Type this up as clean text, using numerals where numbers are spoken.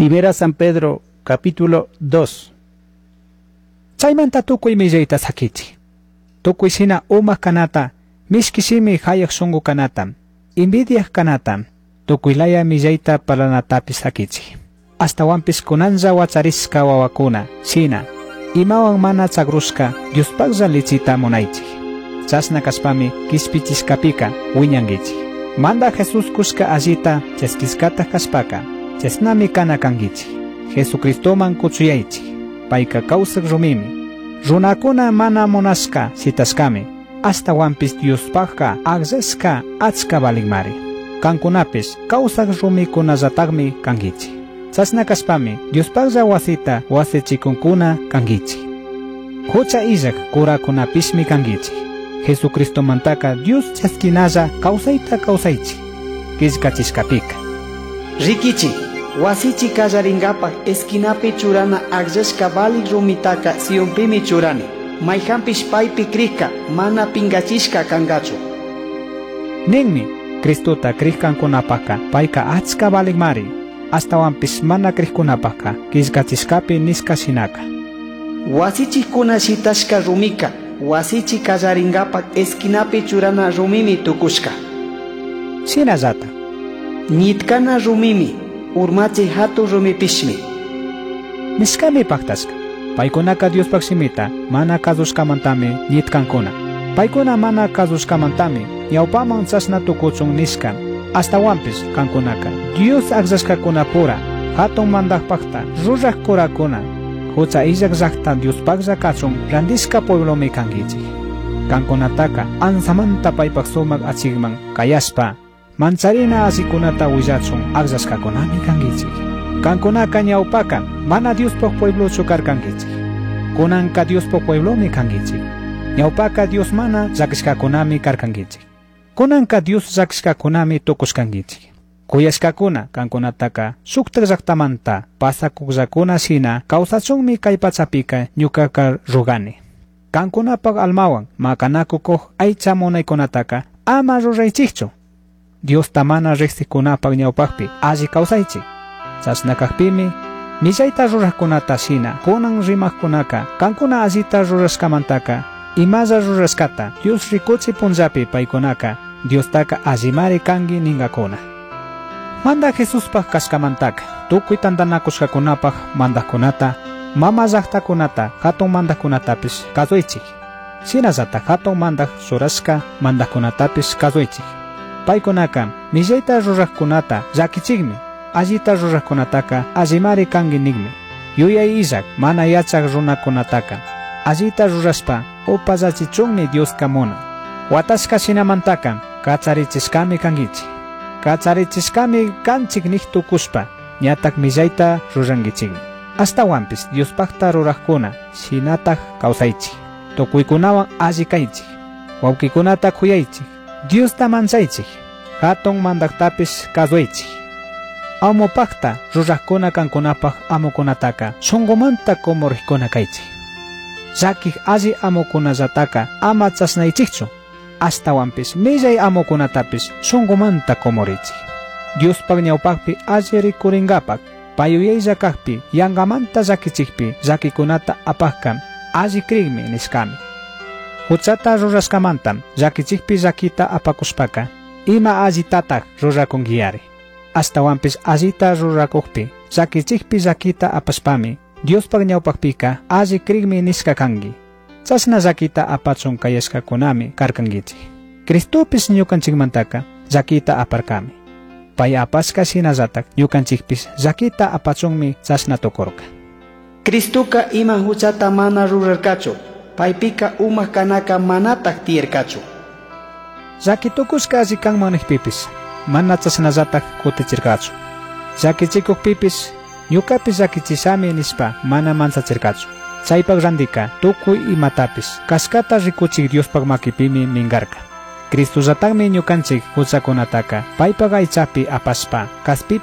Primera San Pedro, capítulo 2. Chaymanta tukuy millayta sakichik. Tukuy shina umak kanata, mishki shimi hayak shunku kanata, envidiak kanata, tukuy laya millayta parlanatapis sakichik. Ashtawanpish kunanlla wacharishka wawakuna, shina, imawan mana chagrushka Diospaklla lichita munaychik. Chashna kashpami kishpichishkapika wiñankichik. Manda Jesús kushka allita chaskishkata kashpaka, chashnami kana kankichik. Jesucristoman kuchuyaychik. Payka kawsak rumimi. Runakuna mana munashka shitashkami. Ashtawanpish Diospakka akllashka achka valinmari. Kankunapish kawsak rumikunallatakmi kankichik. Chashna kashpami Diospaklla wasita wasichikunkuna kankichik. Hucha illak kurakunapishmi kankichik. Jesucristomantaka Dios chaskinalla kawsayta kawsaychik. Killkachishkapika. Rikichi, wasichi kallarinkapak esquinapi churana akllashka valik rumitaka Sionpimi churani. Mayhanpish paypi krikka mana pinkachishka kankachu. Ninmi, Cristota krikkankunapaka payka achka valikmari. Ashtawanpish mana krikkunapaka killkachishkapi nishka shinaka. Wasichikuna shitashka rumika, wasichi kallarinkapak esquinapi churana rumimi tukushka. Shinallata. Ñitkana rumimi, urmachi hatun rumipishmi. Nishkami paktashka. Paykunaka Diospak shimita mana kasushkamantami ñitkankuna. Paykuna mana kasushkamantami ñawpaman chashna tukuchun nishka. Ashtawanpish kankunaka Dios akllashkakunapura hatun mandakpakta ruraq kurakuna hucha illak llaqta Diospaklla kachun randishka pueblomi kankichik. Kankunataka ansamanta paypak sumak achikman kayashpa mancharina allikunata willachun akllashkakunami kankichik. Kankunaka ñawpaka mana Diospaq pueblochu karkankichik. Kunanka Diospaq pueblomi kankichik. Ñawpaka Dios mana llakishkakunami karkankichik. Kunanka Dios llakishkakunami tukushkankichik. Kuyashkakuna kankunataka shuktak llaktamanta pasakukllakuna shina kawsachunmi kay pachapika ñukaka rugani. Kankunapak almawan makanakukuq aycha munaykunataka ama ruraychikchu. Diosta mana riqsikunapak ñawpakpi alli kawsaychik. Chashna kakpimi millayta ruraqkunata shina kunan rimaqkunaka kankuna allita rurashkamantaka imalla rurashkata Dios rikuchi punllapi paykunaka Diostaka allimari kanki ninkakuna. Manda Jesuspaq kashkamantaka tukuy tantanakushkakunapaq mandaqkunata mama llaqtakunata hatun mandaqkunatapish kasuychik. Shinallatak hatun mandaq churashka mandaqkunatapish kasuychik. Paykunaka millayta ruraqkunata llakichikmi, allita ruraqkunataka allimari kanki nikmi. Yuyay illak mana yachaq runakunataka allita rurashpa upallachichunmi Dioska munan. Watashka shinamantaka kacharichishkami kankichik. Kacharichishkami kanchik nik tukushpa ñatak millayta rurankichikmi. Ashtawanpish Diospakta ruraqkuna shinatak kawsaychik. Tukuykunawan alli kaychik. Wawqikunata kuyaychik. Diosta manchaychik. Hatun mandaqtapish kasuychik. Amupakta ruraqkuna kankunapaq amukunataka shunqumanta kumuriqkuna kaychik. Llakiq alli amukunallataka ama chashnaychikchu. Ashtawanpish millay amukunatapish shunqumanta kumurichik. Diospaq ñawpaqpi alli rikurinkapak payuyaylla kakpi yanqamanta llakichikpi llakikunata apaqka alli krikmi nishkami. Huchata rurashkamanta llakichikpi llakita apakushpaka ima allitatak rurakunkiyari. Ashtawanpish allita rurakukpi llakichikpi llakita apashpami Diospaq ñawpaqpika alli krikmi nishka kanki. Chashna llakita apachun kayashkakunami karkankichik. Cristopish ñukanchikmantaka llakita aparkami. Pay apashka shinallatak ñukanchikpish llakita apachunmi chashna tukurka. Cristoka ima huchata mana rurarkachu, paypika umak kanaka manatak tiyarkachu. Llaki tukushka alli kanman nikpipish mana chashnallatak kutichirkachu. Llakichikukpipish ñukapish llakichishami nishpa mana manchachirkachu. Chaypak randika tukuy imatapish kashkata rikuchik Diospaq makipimi minkarka. Cristollatakmi ñukanchik huchakunataka paypak aychapi apashpa kaspipi